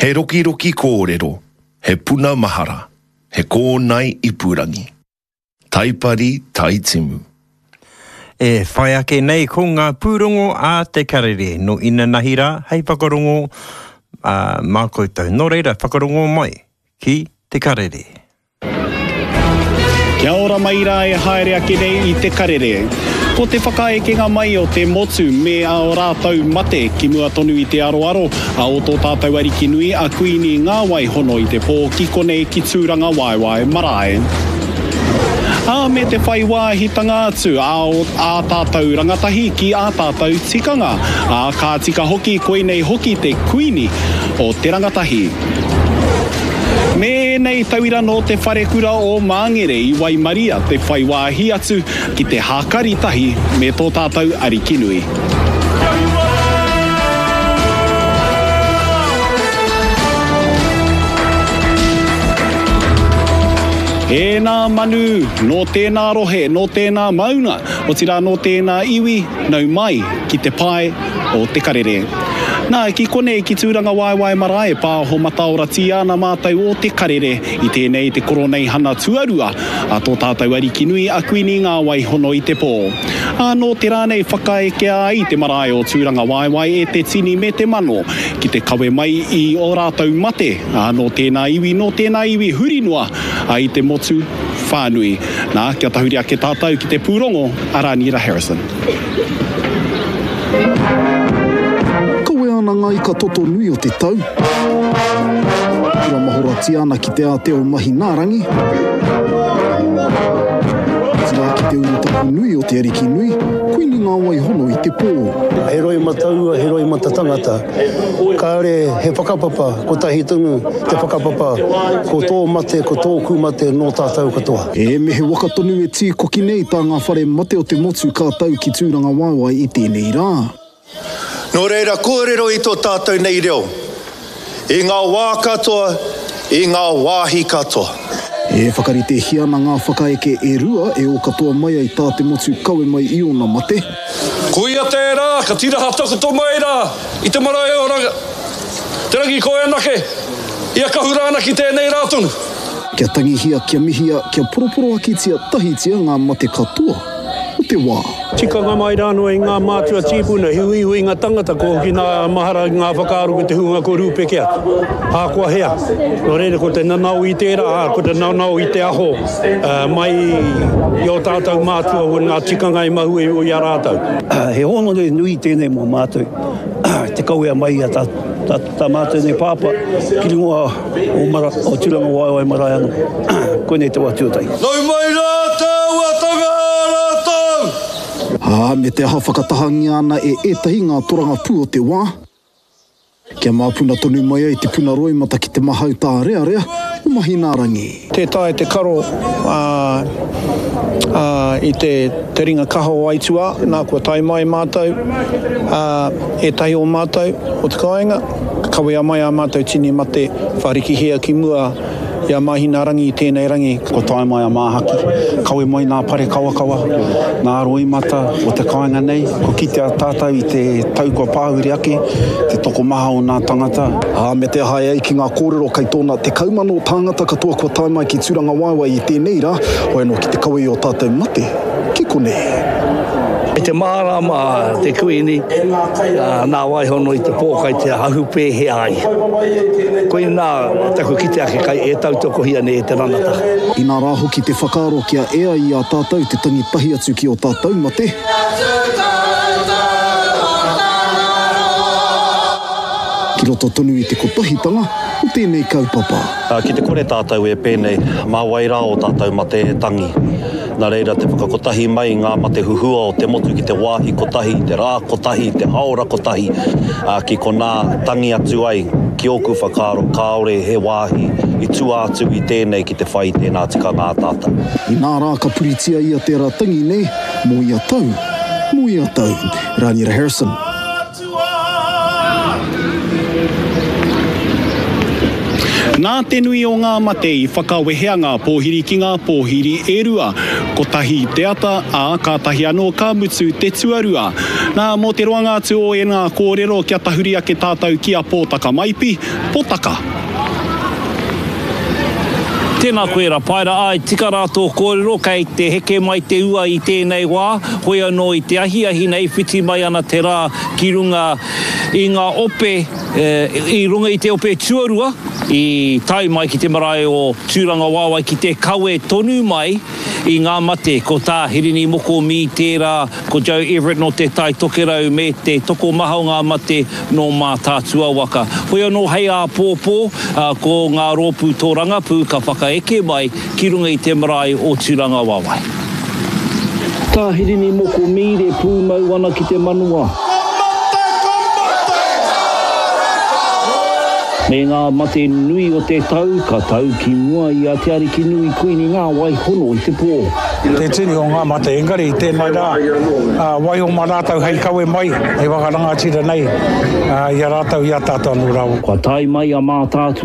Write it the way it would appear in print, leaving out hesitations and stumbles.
He rokiroki kōrero, he puna mahara, he kōnae ipurangi. Taipari Taitimu. E whai ake nei ko ngā pūrongo a Te Karere nō inanahi rā hei whakarongo mā koutou. Nō reira, whakarongo mai ki Te Karere. Kia ora mai rā e haere ake nei i Te Karere. Ko te whakaekenga mai o te motu me ā rātou mate ki mua tonu i te aroaro a o tō tātou Ariki nui a Kuini Ngāwai hono i te pō ki konei ki Tūrangawaewae marae. Ā, me te whai wāhitanga atu a o ā tātou rangatahi ki ā tātou tikanga. Ā, ka tika hoki koinei hoki te Kuini o te rangatahi. Me ēnei tauira nō te wharekura o Māngere i waimaria te whai wāhi atu ki te hākari tahi me tō tātou Ariki nui. Ēnā manu, nō tēnā rohe, nō tēnā maunga, otirā nō tēnā iwi, nau mai ki te pae o Te Karere. Nā, ki konei ki Tūrangawaewae marae e pāho mataoratia ana mātou o Te Karere i tēnei te koroneihana tuarua a tō tātou Ariki nui a Kuini Ngāwaihono i te pō. Ā, nō te rā nei whakaekea ai te marae o Tūrangawaewae e te tini me te mano ki te kawe mai i ō rātou mate, ā, nō tēnā iwi, nō tēnā iwi huri noa i te motu whānui. Nā, kia tahuri ake tātou ki te pūrongo a Rāniera Harrison. Kawea ana ngā ika toto nui o te tau. Kura mahoratia ana ki te ātea o Mahinaarangi. Otirā ki te urutapu nui o te Ariki nui, Kuini Ngāwaihono i te pō. He roimata ua, he roimata tangata. Kāore he whakapapa, kotahi tonu te whakapapa, ko tō mate, ko tōku mate nō tātou katoa. E, me he waka tonu e tīkoki nei tā ngā whare mate o te motu ka tau ki Tūrangawaewae i tēnei rā. Nō reira kōrero i tō tātou nei reo, i ngā wā katoa, i ngā wāhi katoa. E whakaritehia ana ngā whakaeke e rua e ō katoa mai ai tā te motu kawe mai i ōna mate. Koia tērā ka tiraha takoto mai rā i te marae o Te Rangikoeanake, i a Kahurāna ki tēnei rā tonu. Kia tangihia, kia mihia, kia poroporoakitia tahitia ngā mate katoa o te wā. Tikanga mai rānō i ngā mātua tīpuna, he uiuinga tangata kua hoki nā mahara ki ngā whakaaro ki te hunga kua rūpeke atu, ahakoa hea. Nō reira ko te nanao i tērā, ā, ko te nanao i te aho mai i ō tātou mātua o ngā tikanga i mahue i a rātou. He hōnore nui tēnei mō mātou, te kawea mai i a tā mātou nei pāpā ki runga o Mara, o Turangawaewae marae ano. Koinei te wa tuatahi. Nau mai rā te auatanga a rātou! Ā, me te aha whakatahangia ana e ētahi ngā torangapū o te wā, kia māpuna tonu mai ai te puna roimata ki te mahau tārearea o Mahinaarangi. Tē taea te karo i te ringa kaha o aituā, nā kua tae mai mātou, ētahi o mātou o te kāinga. Kawea mai ā mātou tini mate wharikihia ki mua i a Māhinaarangi i tēnei rangi. Kua tae mai a Māhaki, kawe mai nā pare kawakawa, nā roimata o te kāinga nei. Kua kitea tātou i te tau kua pāhure ake, te tokomaha o nā tangata. Ā, me te aha e ai ki ngā kōrero kei tōna 10,000 tāngata katoa kua tae mai ki Tūrangawaewae i tēnei rā, hoi anō ki te kawe i ō tātou mate ki konei. I te mārāma te Kuini, nā Waihono i te pōkai te ahu pēhea ai. Koinā taku kite ake kai e tautokohia nei e te ranata. Inā rā hoki te whakaaro kia ea i a tātou te tangi tahi atu ki ō tātou mate. Ki roto tonu i te kotahitanga o tēnei kaupapa. Ki te kore tātou e pēnei, mā wai rā ō tātou mate e tangi? Nā reira te whakakotahi mai i ngā mate huhua o te motu ki te wāhi kotahi, te rā kotahi, te haora kotahi, ā, ki konā tangi atu ai, ki ōku whakaaro kāore he wāhi i tua atu i tēnei ki te whai i tēnā tikanga a tātou. Inā rā ka puritia ia te ara tangi nei mō ia tau, mō ia tau. Raniera Harrison. Nā te nui o ngā mate i whakawehea ngā pōhiri ki ngā pōhiri e rua, kotahi i te ata, ā, kātahi anō ka mutu te tuarua. Nā, mō te roanga atu o ēnā kōrero kia tahuri ake tātou ki a Pōtaka Maipi, Potaka. Tēnā koe Rapaera, āe tika rā tō kōrero, kei te heke mai te ua i tēnei wā, hoi anō i te ahiahi nei whiti mai ana te rā ki runga i ngā ope, i runga i te ope tuarua i tae mai ki te marae o Tūrangawaewae ki te kawe tonu mai i ngā mate, ko tā Hirini Moko Mee tērā, ko Joe Everett nō Te Tai Tokerau me te tokomaha o ngā mate nō Mātaatua waka. Hoi anō hei āpōpō, ko ngā rōpū tōrangapū ka whakaeke mai ki runga i te marae o Tūrangawaewae. Tā Hirini Moko Mead e pūmau ana ki te manawa. Ko mate, ko mate! Me ngā mate nui o te tau ka tau ki mua i a Te Arikinui Kuini Ngāwai hono i te pō. Te tini o ngā mate, engari i tēnei rā, waiho mā rātou hei kawe mai, hei whakarangatira nei i a rātou, i a tātou anō rā. Kua tae mai a Mātaatua.